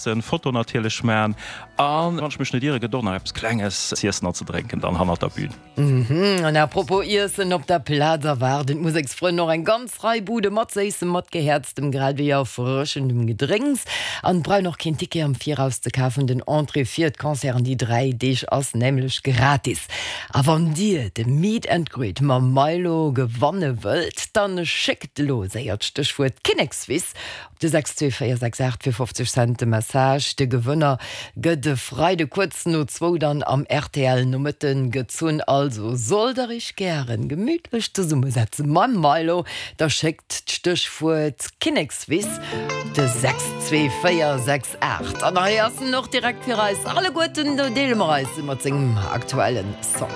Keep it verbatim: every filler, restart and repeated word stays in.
schwätzen, Foto natierlech man an wann ech mech net iere gëtt och nach eppes Klenges z'iessen an ze drénken dann hannert der Bühn. Mhm, an apropos Iessen, op der Plaz erwaarden d'Museksfrënn och eng ganz Rei Bude mat Séissem, mat Gehäerztem grad ewéi erfrëschendem Gedrénks. An et brauch och keen Ticket am Viraus ze kafen, den Entrée fir d'Concerten déi dräi Deeg ass nämlech gratis. A wann dir de Meet and Greet mam Milow gewanne wëllt, dann schéckt elo séier d'Stéchwuert Kinnekswiss op de sechs zwee véier sechs aacht fir fofzeg Cent de Message. De Gewënner gëtt e Freide kuerz no zwou dann am R T L Nomëtten gezunn. Also sollt der iech gären gemütlech zesummesetze mam Milow, da schéckt d'Stéchwuert Kinnekswiss op de sechs zwee véier sechs aacht. An hei ass en och direkt fir eis alleguerten, do deele mer eis mat sengem aktuellen Song.